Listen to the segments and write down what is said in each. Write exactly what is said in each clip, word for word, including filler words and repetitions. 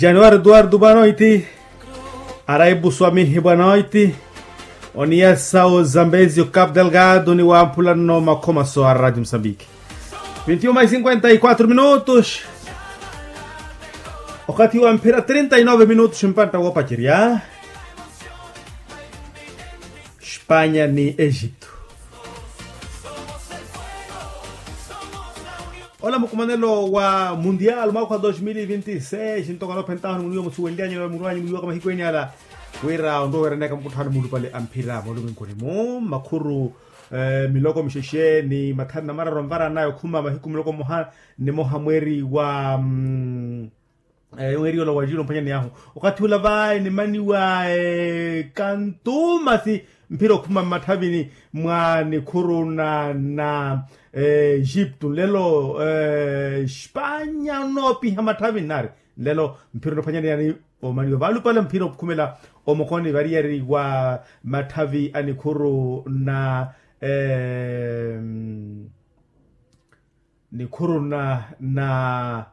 Januari duardu bwanoiti. Araibu swamihi bwanoiti. Oniyasa ozambezi okapu delgado ni wamphula nno makhomaso a radio mosambiki. Vinti uma e cinquenta e quatru minutos. Okathi wa mphira trinta e nove minutos mpantta woopacerya. Spanya ni egito. Ola mukumanelo wa mundial mwaka wa dos mil e vinti seis ntoko anoophentaho ni muniwo musuwenlyanyu na murwanyu muyiwaka mahiku eni ala. Wira onroweranaka mukutthano mulupale a mphira mwaluminkuni mu makhuru miloko mixexe ni mathanu na mararu anvaranaya okhuma mahiku miloko mmoha ni moha mweeri wa yonweriwa ola wa jiro mphwanyani ahu. Okathi ula vayi nimaniwa kantumasi mphira okhuma mmatthavini mwa nikhuru na na egipto nlelo espanya onoopiha matthavini nari nlelo mphira onophwanyani yani omaniwa valupale mphira okhumela omokoni variyari wa matthavi a nikhuru na nikhuruna na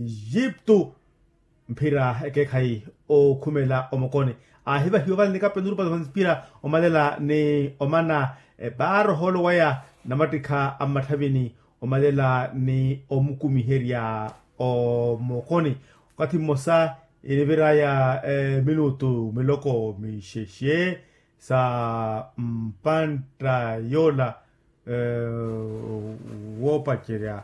egipto mphira ekeekhayi okhumela omokoni aahivahiwa vale ni kapeni orupa za mphira omalela ni omana epaara ohoolo waya namattikha a mmatthavini omalela ni omukumiherya omokoni okathi mmosa iniviraya minutu miloko mixexe sa mpantta yoola woopacerya